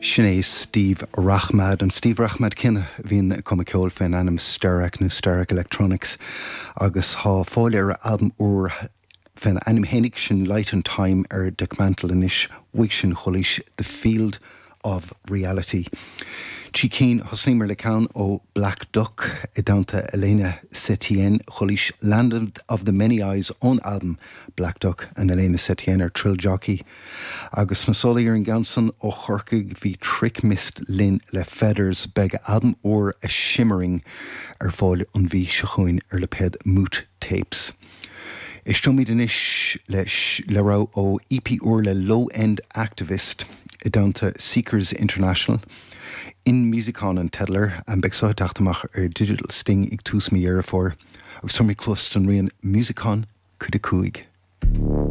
Sin é Steve Rachmad, an Steve Rachmad céanna a bhíonn ag cumadh ceoil fén ainm Sterak nó Sterak Electronics, agus tá fáil ar a albam úr fén ainm fhéinig, sin Light and Time ar Dekmantel anois, uaidh sin chualaís The Field of Reality. Trí cinn, thosnaíomar le ceann ó Black Duck i dteannta Elena Setien, chualaís Land of the Many Eyes ón albam Black Duck and Elena Setien ar Trill Jockey. Agus sna sólóí ar an gceann san ó Chorcaigh bhí Trick Mist linn le Feathers. Beidh a albam úr A Shimmering ar fáil an mhí seo chugainn ar lipéad Moot Tapes. Éisteoimid anois le le rogha ó EP úr le Low End Activist i dteannta Seekers International. In Musicon an teideal air. Beidh seo ag teacht amach ar Digital Sting ag tús mí Dheireadh Fómhair agus tabharfaimid cluas don rian Musicon cuid 5.